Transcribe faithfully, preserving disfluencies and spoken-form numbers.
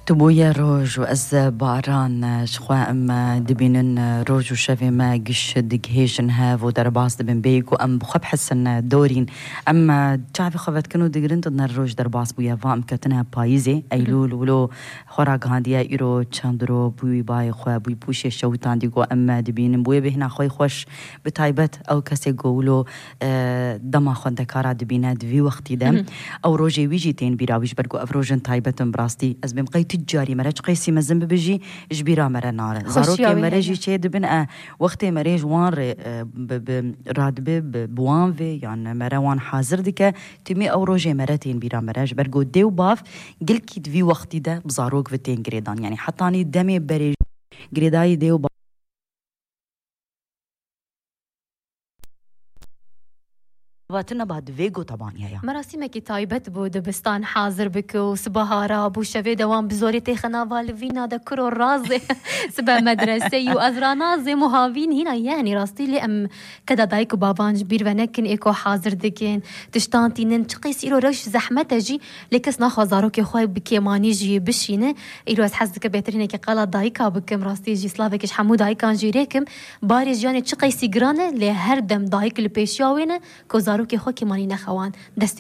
Tu bûye roj û ez baran, ji xwe em dibînin roj û şevê me giş digihêjin hev û derbas dibin bêyî ku em bi xwe bihesin dorîn. Em çavê xwe vedikin û digirin tu ne roj derbas bûye, va em ketine payîzê, eylûl, wilo xwe ragihandiye îro çend ro bûyî bayê xwe, bûyî pûşê şewitandî ku em dibînin. Bûye bêhna xwe xweş, bi taybet ew kesê ku wilo, e, dema xwendekara dibîne di vî wextî de. Ew rojê wî jî tên bîra wî, ji ber ku ev rojên taybet in bi rastî. Ez bêm qey tu carî mere çi qeysî mezin bibe jî ji bîra mere nare. Zarokê mere jî çê dibin, e, wextê mere ji wan rê, e, bi, bi, radibe, bi, bi wan vê, yan mere wan hazir dike, timî ew rojê mere tên bîra mere, ji ber ku dê û bav gelkî di vî wextî de bi zarok ve tên girêdan. Yanî hetanî demê berê girêdayî dê û bav Vatina ba divê go tabaniye ya. Merasîmekî taybet bû, dibistan hazir bike û siba hara bû, şevê de wan bi zorê têxe nava livîna de kuro razê sibe medreseyî û ez ranazêm û havîn hîna, yani rastî lê em keda dayik û bavan ji bîr ve nekin ê ku hazir dikin. Tiştan tînin, çi qeysî îro rewş zehmet e jî, lê kes naxwa zarokê xwe bi kêmanî jî bişîne. Îro ez hez dikim bêhtirînekî qala dayika bikim, rastî jî slavekî ji hemû dayikan jî rêkim. Barê jiyanê çi qeysî giran e, lê her dem dayik li pêşiya wê ne ku zarokê xwe kêmanî nexewan. Destê